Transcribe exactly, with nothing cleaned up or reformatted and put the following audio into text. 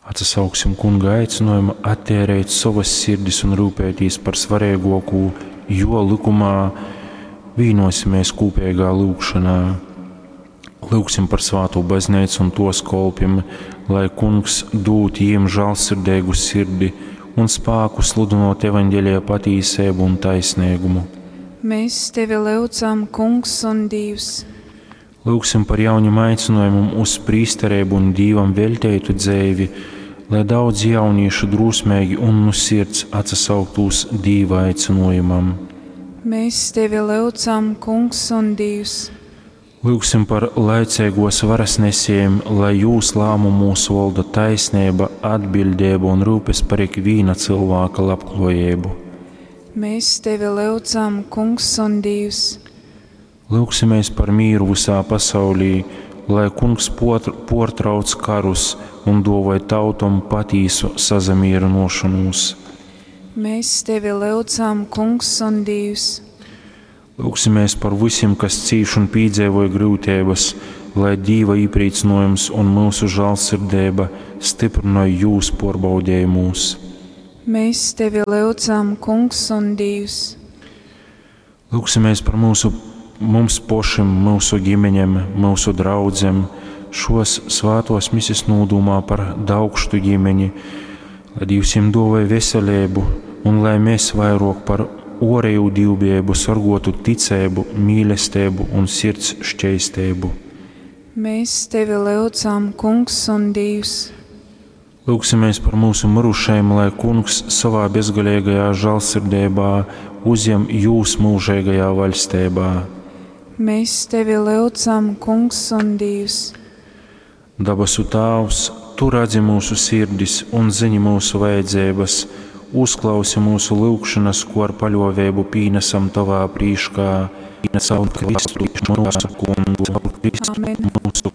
Atsasauksim Kunga aicynojumu atteirēt sovas sirdis un rūpētīs par svareiguokū Juo lykumā, vīnuosimies kūpeigā lyugšonā. Lyugsim par svātū bazneicu un tuos kolpim, lai Kungs dūd jim žālsirdeigu sirdi un spāku sludynot evaņģelija patīseibu un taisneigumu. Mēs tevi lyudzam, Kungs un Dīvs. Lyugsim par jaunim aicinojumim uz prīstereibu un Dīvam veļteitu dzeivi, lai daudz jaunīšu drūsmeigi un nu sirds atsasauktu uz Dīva aicynojumam. Mēs tevi lyudzam, Kungs un Dīvs. Lyugsim par laiceiguos varas nesējim, lai jūs lāmumūs volda taisneiba, atbiļdeiba un rūpes par ikvīna cylvāka labkluojeibu. Mēs tevi lyudzam, Kungs un Dīvs. Lyugsimies par mīru vysā pasaulī, lai Kungs puortrauc karus un duovoj tautom patīsu sasamīrynuošonūs. Mēs tevi lyudzam, Kungs un Dīvs. Lūgsimies par visiem, kas cīš un pīdzeivoj gryuteibas, lai Dīva īprīcynojums un myusu žālsirdeiba styprynoj jūs puorbaudejumūs. Mēs tevi lyudzam, Kungs un Dīvs. Lūgsimies par mūsu, mums pošim, myusu ģimeņem, myusu draudzem, šos svātos misis nūdūmā par Daukštu ģimeni, lai Dīvs jiem duovoj veselību un lai mēs vairāk par orēju dīvbijību sorgotu ticību, mīlestību un sirds šķeistību. Mēs tevi lyudzam, Kungs un Dīvs. Lūgsimies par mūsu mirušajiem, lai Kungs savā bezgalīgajā žālsirdībā uzņem jūs mūžīgajā vaļstībā. Mēs tevi lyudzam, Kungs un Dīvs. Dabasu Tāvs, Tu redzi mūsu sirdis un zini mūsu vajadzības, uzklausi mūsu lūgšanas, ko ar paļāvību pīnesam Tavā prīškā. Caur Kristu mūsu kungu. Amen. Mūsu